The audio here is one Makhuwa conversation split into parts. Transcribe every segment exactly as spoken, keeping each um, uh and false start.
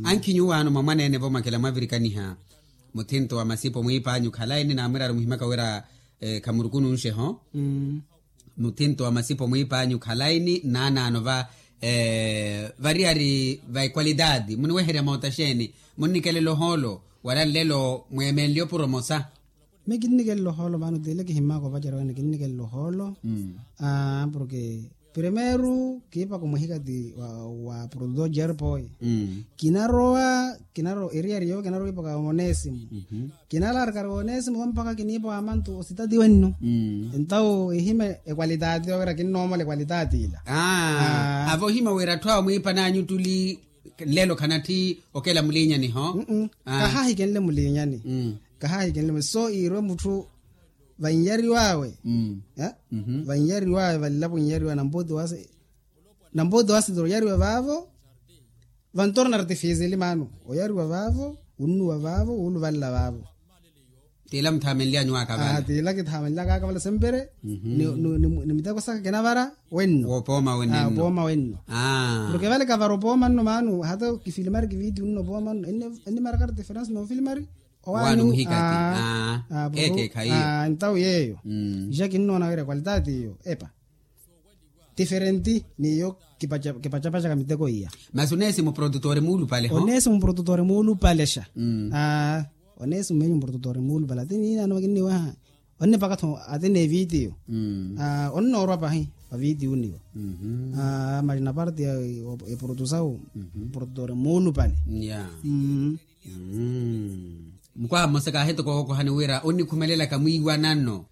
Ankhi nyuwaano mwa mwaneene-vo mwakela mwavirikaniha muthinto wa masipo mwiipaanyu khalayi ni naamwiraari muhimaka wira khamurukununxe-ho. Muthinto wa masipo mwiipaanyu khalayi ni naanaano va variyari va ekwalitati muniweherya moota xeeni? Munnikelela ohoolo wala nlelo mweemenlye opuro mosa? Mi kinnikelela ohoolo maana otile kihimaka opacerya wene kinnikelela ohoolo. Porke primeiro kiipaka omuhikati wa produtor jerpoy. Kinarowa kinarowa eriyari yoowo kinarowa kiipaka onesimo. Kinalarikari onesimo mpakha kiniipa wa mantu ositati wenno. Entawu ehima ekwalitati yowira kinnoomola ekwalitati ila. Avo ohima wira atthu awo mwiipananyu ttuli nlelo khanatthi okela muliinyani ho. Kahahikenle muliinyani. Kahahikenle muliinyani so iirwe mutthu vannyariw'awe. Vannyariw'awe vanlapo nnyariw'awe nampooti wasi nampooti wasi toroyariwa vaavo. Vantorna artifisili maano oyariwa vaavo wunnuwa vaavo wuuluvanla vaavo. Tiila muthaamenly'anyu waakavala tiila kithaamanly'aka akavala sempere. Ni miteko saka kinavara wenno woopooma wenno. Porke vale kavara opooma nno maano hata kifilimari kiviti wunno opooma nno ennimaraka artifirence nofilimari owaani muhikati. Ekeekhayi iyo. Ntawu yeeyo ixa kinnoona wira ekwalitati iyo epa tiferenti n'iyo kipacapacaka miteko iya. Masi oneesi muprodutori muulupale ho oneesi muprodutori muulupale xa. Oneesi mmenyu muprodutori muulupale ati niinaano kinniwaha onnipaka-tho ati n'evitiyo. Onnoorwa pahi vavitiyo niwo. Masi na parti ya eprodusawu muprodutori muulupale. Mukwaha mmosa kaahitoko wookohani wira onnikhumelelaka mwiiwanano.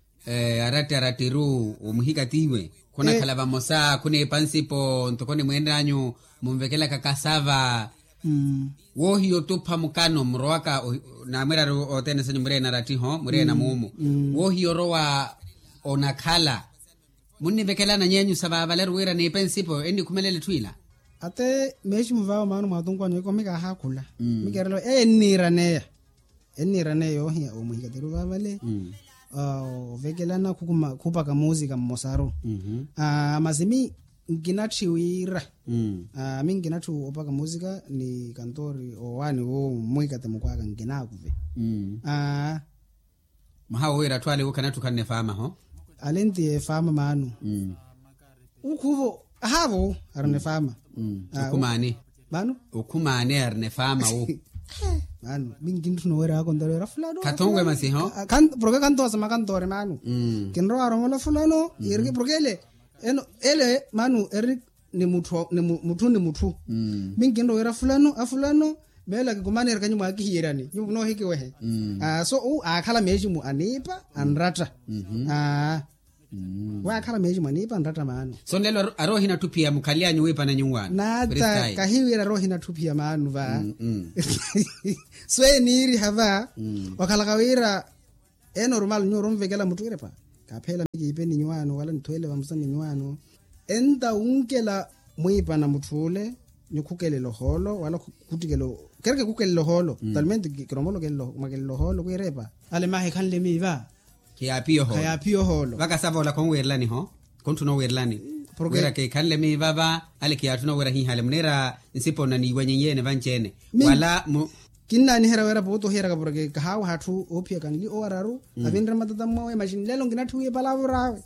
Aratti arattiru omuhikatiiwe khunakhala vamosa khuneepa nsipo ntoko ni mweenanyu munvekelaka kasava. Woohiya otupha mukano murowaka naamwiraari othene sanyu mureena arattiho mureena muumu woohiya orowa onakhala. Munnivekelana nyeenyu sa vaavaleru wira niipe nsipo ennikhumelela etthu ila. Ate meeximu vaawo maano mwaatunku anyu ikomi kaahakhula mikerelo eyo enniiraneya. Enniiraneya yoohiya omuhikatiru vaavale ovekelana khupaka muusika mmosaru. Masi mi nkinatthiwiira mi nkinatthi opaka muusika ni kantori owaani wo mmuhikati mukwaka nkinaakuve. Mwaha woowira atthu ale wu khanatthi okhanne faama ho. Ale nti efaama maano. Ukhuvo ahaavo arina efaama. Okhumaani maano. Okhumaani arina efaama wu. Maano mi nkintthuna oweera akonta oweera fulano khathonwe masi ho. Porke khantoosema kantoore maano. Kinrowa aromola fulano porke ele eno ele maano eri ni mutthu ni mutthu mi nkinrowa wira fulano a fulano meelo akikumaneerya kanyu mwaakihiyerani nyuwo munoohikiwehe. So aakhala meeximu aniipa anratta. Waakhala meeximu aniipa anratta maano. So nlelo ari ohinatthu phiya mukhalyanyu wiipana nyuwaano naata kahiwira ari ohinatthu phiya maano va. So eniiriha va wakhalaka wira ee normal nyuwo oromvekela mutthu irepa kaapheela mi kiipe ni nyuwaano wala nithweele vamosa ni nyuwaano. Enta wunkela mwiipana mutth'ule nyukhukelela ohoolo wala khuttikela kereke khukelela ohoolo talmente kiromolo mwakelela ohoolo kwiirepa. Ale mahi khanle miiva khayaapiya ohoolo. Vakasava ola khonwiirelani ho. Khontthuna owiirelani wira kikhanle miiva va ale kiyaatthuna owiira hiihale muniira nsipo nnaniiwanyenyeene vanci-ene wala mu kinnaaniherya wira pooti ohiyeraka porke kahaawaha atthu oophiyaka nli owararu avinre matata mmowe maxi nlelo nkinatthiwiye palavura awe.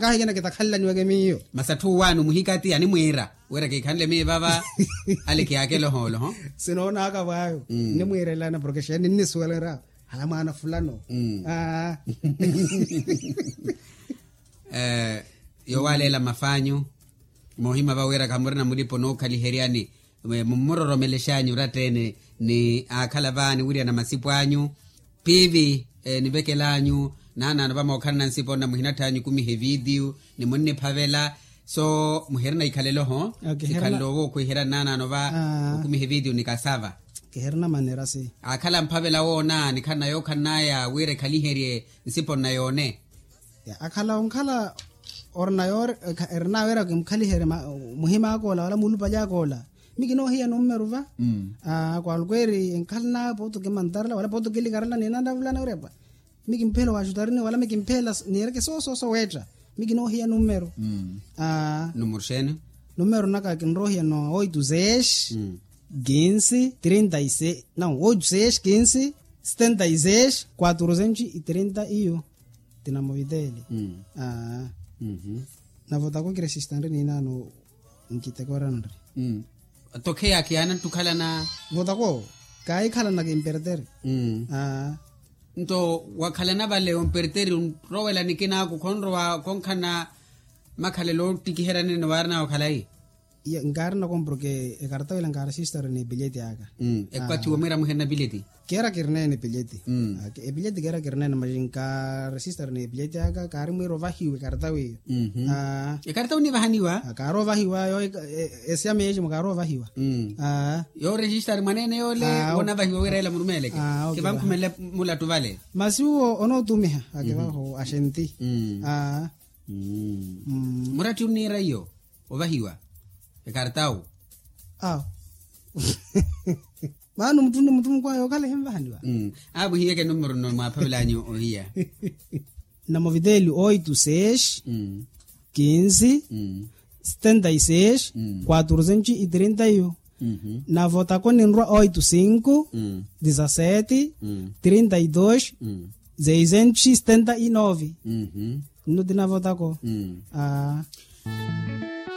Kaahikina kitakhanlaniweke miyo masi atthu owaani omuhikati animwiira wira kikhanle miiva va ale kiyaakela ohoolo ho. Sinoonaka vwaayo nnimwiirelana porke xeeni nnisuwelera hala mwaana fulano. Yowaleela mafaanyu moohima va wira khamurina mulipo nookhaliheryani mummuroromelexanyu oratta-ene ni aakhala va niwiryana masipo anyu piivi nivekel'anyu naanaano vamookhalana nsipo nna muhinatthanyu kumiha evitiyu ni munniphavela. So muhirina ikhalelo ho sikhalelo wookhwiherya nnaanaano va okumiha evitiyu ni kasava. Kiherina manera si akhala mphavela woona nikhalana yookhalana aya wira ekhaliherye nsipo nna yoone. Akhala onkhala orina yoori erina wira kimkhaliherye muhim'aka ola wala muulupali aka ola mi kinoohiya nummeru va. Kwalukweeri enkhalana pooti okimantarela wala pooti okilikarela ninanravulana wirepa mi kimpheela owaaxutariniwe wala mi kimpheela niireke soosooso weetta mi kinoohiya nummeru. Nummeru xeeni Numero naka kinrohiya no oito seis quinze trinta e seis, não, oito seis quinze setenta e seis quatrocentos e trinta e um. Tinamoviteli. Aa. Navotako kiresista nri ninano. Nkitekoranri. Tokheya kiana ntukhalana. Votako kaikhalana kimperteri. Aa. Nto wakhalana vale omperteri onrowela nikinaku khonrowa khonkhana makhalelo ottikiheryanene waarina okhalayi. Nkaarina komporke ekarta wila nkaarisistaru ni epilyeti aka. Ekwathi womwira muherina epilyeti. Kera kirinene epilyeti. Epilyeti kera kirinene maji nkaarisistaru ni epilyeti aka kaari mwira ovahiwa ekarta wiyo. Ekarta onivahaniwa. Kaari ovahiwa yo. Esiyama eyi cimo kaari ovahiwa. Yo resistari mwanene yole wonavahiwa wira ela murumeleke. Kivankhumele. Mulatu vale. Masi uwo onootumiha akivaho axenti. Muratti onniira iyo ovahiwa ekartawu. Awo. Maana muttu ni muttu mukwaya okhala ehinvahaniwa. Awo muhiyeke numero nno mwaaphavelanyu ohiya. Namoviteli oito seis quinze setenta e seis quatrocentos e trinta e um. Navotako ninrwa oito cinco dezasete trinta e dois seiscentos e setenta e nove. Nno tinavotako. Aa.